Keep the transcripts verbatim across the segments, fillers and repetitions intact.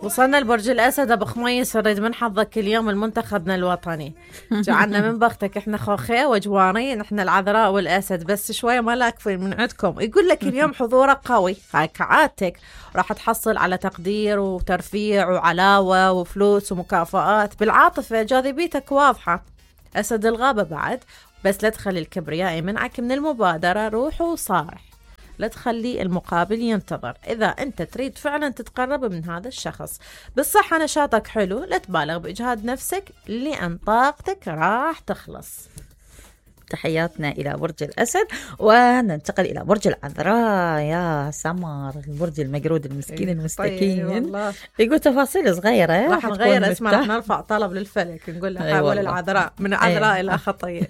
وصلنا لبرج الأسد أبو خميس، نريد من حظك اليوم المنتخبنا الوطني. جعلنا من بختك احنا خوخي وجوارين، احنا العذراء والأسد، بس شوية ما لاكفين من عندكم. يقول لك اليوم حضورك قوي، هاي كعادتك راح تحصل على تقدير وترفيع وعلاوة وفلوس ومكافآت بالعاطفة، جاذبيتك واضحة. أسد الغابة بعد، بس لا تخلي الكبرياء يمنعك من المبادرة، روح وصارح، لا تخلي المقابل ينتظر. إذا أنت تريد فعلا تتقرب من هذا الشخص بالصحة، نشاطك حلو، لا تبالغ بإجهاد نفسك لأن طاقتك راح تخلص. تحياتنا إلى برج الأسد، وننتقل إلى برج العذراء. يا سمر، البرج المقرود المسكين المستكين. طيب يقول تفاصيل صغيرة، راح نغير اسمه، راح نرفع طلب للفلك نقول له حول العذراء من عذراء أي. إلى خطية.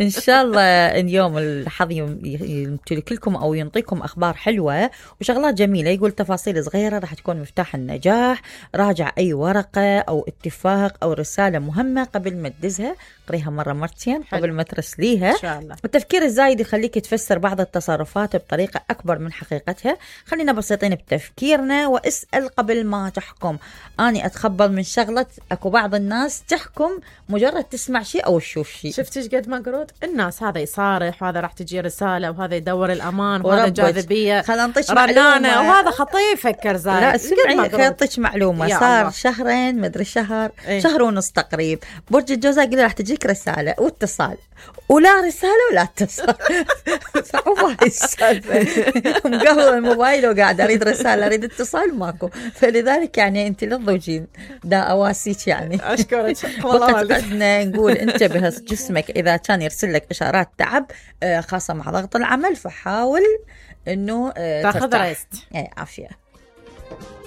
إن شاء الله اليوم الحظ يمتلك لكم أو ينطيكم أخبار حلوة وشغلات جميلة. يقول تفاصيل صغيرة راح تكون مفتاح النجاح. راجع أي ورقة أو اتفاق أو رسالة مهمة قبل ما تدزها، قريها مرة مرتين قبل ما ترسليها. إن شاء الله. التفكير الزايد يخليك تفسر بعض التصرفات بطريقة أكبر من حقيقتها. خلينا بسيطين بتفكيرنا واسأل قبل ما تحكم. أنا أتخبل من شغلة، أكو بعض الناس تحكم مجرد تسمع شيء أو تشوف شيء. شفتش قد مقرود الناس، هذا يصارح وهذا راح تجي رسالة وهذا يدور الأمان وهذا جاذبية رنانة وهذا خطير فكر زايد. لا اسمعي خيطش معلومة، صار الله. شهرين مدري شهر ايه؟ شهر ونص تقريب. برج الجوزاء قال راح تجيك رسالة واتصال، ولا رسالة ولا اتصال. صعوبة هاي السالفة. مقهوة الموبايل وقاعد أريد رسالة أريد اتصال ماكو، فلذلك يعني أنت للضوجين دا أواسيك يعني. أشكرك والله. قدنا نقول انتبه جسمك إذا كان يرسل لك إشارات تعب خاصة مع ضغط العمل، فحاول إنه تاخذ ريست. ايه عافية.